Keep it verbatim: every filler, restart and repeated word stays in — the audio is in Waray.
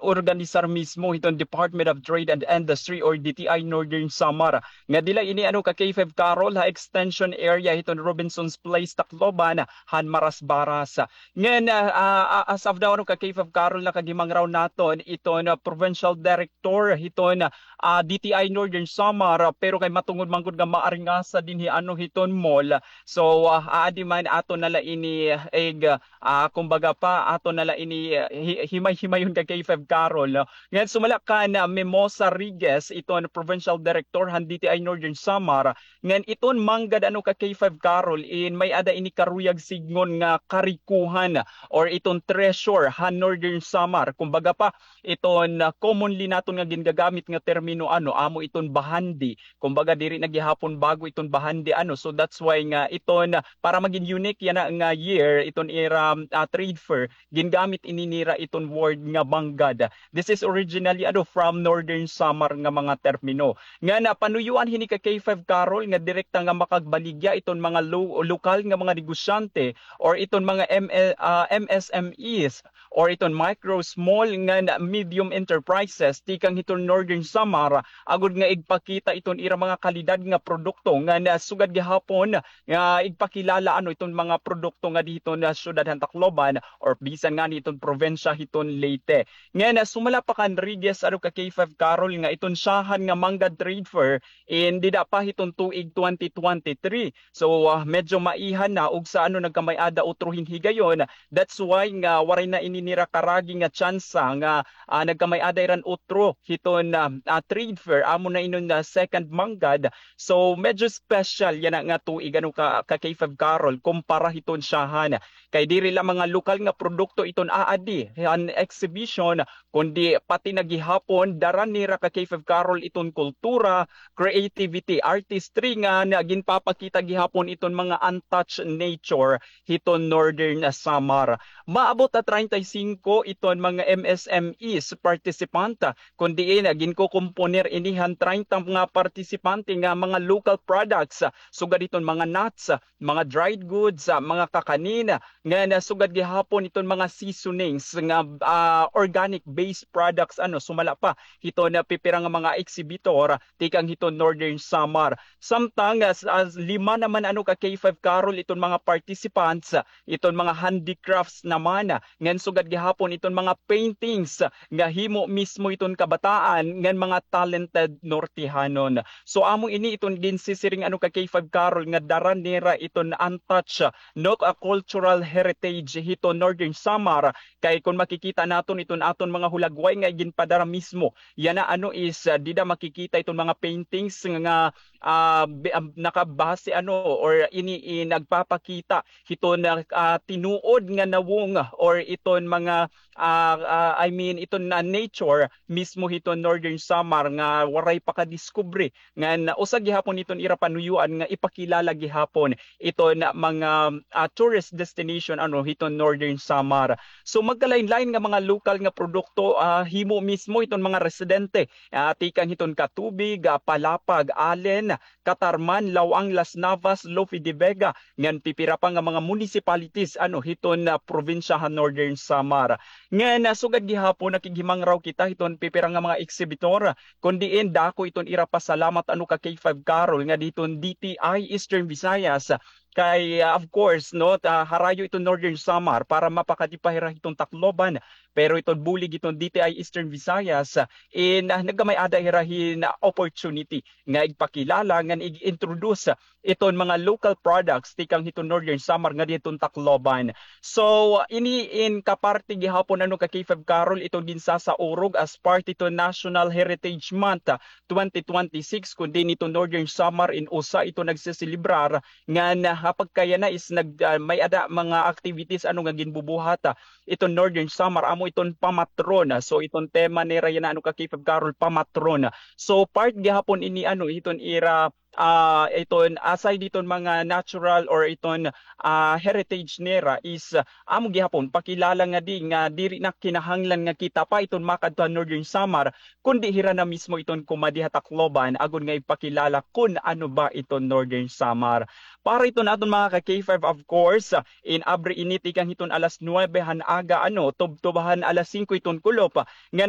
organisar mismo hiton Department of Trade and Industry or D T I Northern Samar. Nga dila ini ano ka K five Carol ha extension area hiton Robinson's Place, Tacloban, han Marasbaras. Ngan, ah, ah, as of now, ano ka K five Carol, nakaghimangraw naton iton, ah, provincial director hiton, ah, D T I Northern Samar, ah, pero kay matungod man gud nga maaringasa dinhi ano hiton mall. So, ah, aadi man aton na la ini, ah, ig, ah, kumbaga pa, aton na la ini, ah, hi-, himay-himayon ka K five Carol, no? Ngan sumala kan, ah, Mimosa Riguez, iton provincial director han D T I Northern Samar, ngan iton manggad ano ka K five Carol, in may-ada ini karuyag sidngon nga karikuhan or iton treasure han Northern Samar. Kumbaga pa, iton, ah, commonly naton nga gingagamit nga termino ano, amo iton bahandi. Kumbaga, diri na gihapon bago iton bahandi ano. So that's why nga iton, ah, para magin unique yana nga year, iton ira, ah, trade fair, gingamit ini nira iton word nga manggad. This is originally ano, from Northern Samar nga mga termino. Nga napanuyuan hini ka K five Carol nga direkta nga makagbaligya iton mga lo-, lokal nga mga negosyante or iton mga M L, ah, M S M Es or iton micro, small ngan medium enterprises tikang hiton Northern Samar, agod nga igpakita iton ira mga kalidad nga produkto ngan sugad gihapon nga igpakilala ano iton mga produkto nga dihito na syudad han Tacloban or bisan ngani iton probinsya hiton Leyte. Ngan sumala pa kan Riguez ano ka K five Carol nga iton syahan nga Manggad Trade Fair in dida pa hiton tuig twenty twenty-three. So, ah, medyo maihan na ug sa ano nagkamay-ada utro hin higayon. That's why nga waray na ini nira karagi nga tsansa nga, ah, nagkamay-ada iran utro hiton, ah, ah, trade fair. Amo na inon, ah, second manggad. So, medyo special yana nga tuig ano ka, ka K five Carol kumpara hiton syahan. Kay diri la mga lokal nga produkto iton aadi han exhibition, kundi pati na gihapon dara nira ka K five Carol iton kultura, creativity, artistry nga na ginpapakita gihapon iton mga untouched nature hiton Northern Samar. Maabot ha treinta y cinco iton mga M S M Es participant, kun diin ginkukomponer ini han treinta nga partisipante nga mga local products, sugad iton mga nuts, mga dried goods, ah, mga kakanin, ngan sugad gihapon iton mga seasonings nga, ah, organic based products, ano, sumala pa hiton pipira nga mga exhibitor tikang hiton Northern Samar. Samtang, ah, s-, ah, lima naman ano ka K five Carol iton mga participants, iton mga handicrafts naman, ngan sugad gihapon iton mga paintings nga himo mismo iton kabataan ngan mga talented Nortehanon. So, amo ini iton ginsisiring ano ka K five Carol nga dara nira iton untouched, no, ah, cultural heritage hiton Northern Samar. Kay kun makikita naton iton aton mga hulagway nga ginpadara mismo yana ano is, ah, dida makikita iton mga paintings nga, ah, bi-, ah, nakabase ano or ini, i-, nagpapakita hiton, ah, tinuod nga nawong or iton mga, ah, ah, I mean, iton na nature mismo hiton Northern Samar nga waray pa kadiskubre. Ngan usa gihapon iton ira panuyuan nga ipakilala gihapon iton mga, ah, tourist destination, ano, hiton Northern Samar. So, magkalain-lain nga mga lokal nga produkto, ah, himo mismo hiton mga residente, ah, tikang hiton Catubig, ah, Palapag, Alen, Catarman, Laoang, Las Navas, Lope de Vega, ngan pipira pa nga mga municipalities, ano, hiton, ah, probinsya han Northern Samar. Ngan, ah, sugad gihapon, nakighimangraw kita hiton pipira nga mga exhibitor, kun diin dako iton ira pasalamat, ano, ka K five Carol nga diton D T I Eastern Visayas, kay, ah, of course, no, ta-, harayo iton Northern Samar para mapakadi pa hira hiton Tacloban, pero iton bulig iton D T I Eastern Visayas, ah, in, ah, nagkamay-ada hira hin, ah, opportunity nga igpakilala ngan ig-introduce iton mga local products tikang hiton Northern Samar nga diton Tacloban. So, ini in kaparte gihapon, ano, ka K five Carol, iton ginsasaurog as part iton National Heritage Month, ah, twenty twenty-six, kun diin iton Northern Samar in usa iton nagseselebrar ngan, ah, ha pagkayana is nag-, ah, may-ada mga activities, ano, nga ginbubuhat, ah, iton Northern Samar, amo iton pamatron. Ah, so iton tema nira yana, ano, ka K five Carol, pamatron. So part gihapon ini, ano, iton ira, ah, iton aside diton mga natural or iton, ah, heritage nira is, ah, amo gihapon pakilala nga di, nga diri na kinahanglan nga kita pa iton makadto ha Northern Samar, kundi hira na mismo iton kumadi ha Tacloban agod nga ipakilala kun ano ba iton Northern Samar. Para iton aton mga ka K five, of course, ah, in abri ini tikang hiton alas nuwebe han aga, ano, tubtob han alas singko iton kulop, ngan